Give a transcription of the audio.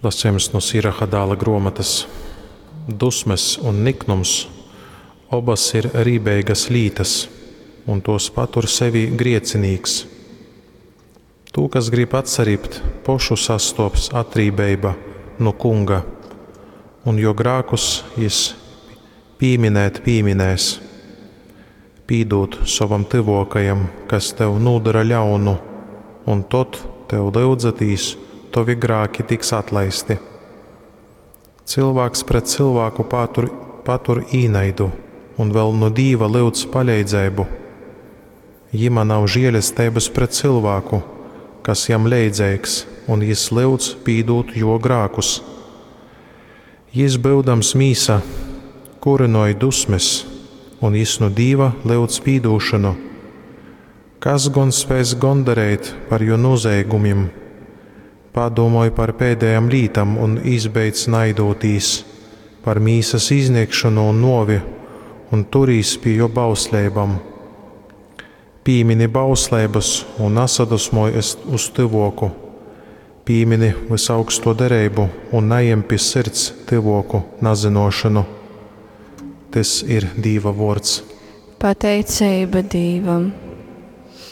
Lasījums no Siraha dāla gruomotas. Dusmes un niknums obas ir rībeigas lītas, un tos patur sevī griecinīks. Tū, kas grib atsaribt, pošu sastops atrībeiba nu kunga, un jo grākus jis pīminēt pīminēs. Pīdūd sovam tyvōkajam, kas tev nūdora ļaunu, un tod, tev lyudzatīs, tovi grāki tiks atlaisti. Cylvāks pret cylvāku patur, patur īnaidu un vēl nu Dīva lyudz paleidzeibu. Jima nav žielesteibys pret cylvāku, kas jam leidzeigs, un jis lyudz pīdūt juo grākus. Jis, byudams mīsa, kurynoj dusmes, un jis nu Dīva lyudz pīdūšonu. Kas gon spēs gondareit par juo nūzeigumim? Padūmoj par pēdējām lītām un izbeidz naidūtīs, par mīsas iznikšonu un nuovi, un turīs pi juo bausleibom. Pīmini bausleibas un nasadusmoj uz tyvuoku. Pīmini vysaugsto dereibu un najem pi sirds tyvuoku nazynuošonu. Tys ir Dīva vuords. Pateiceiba Dīvam.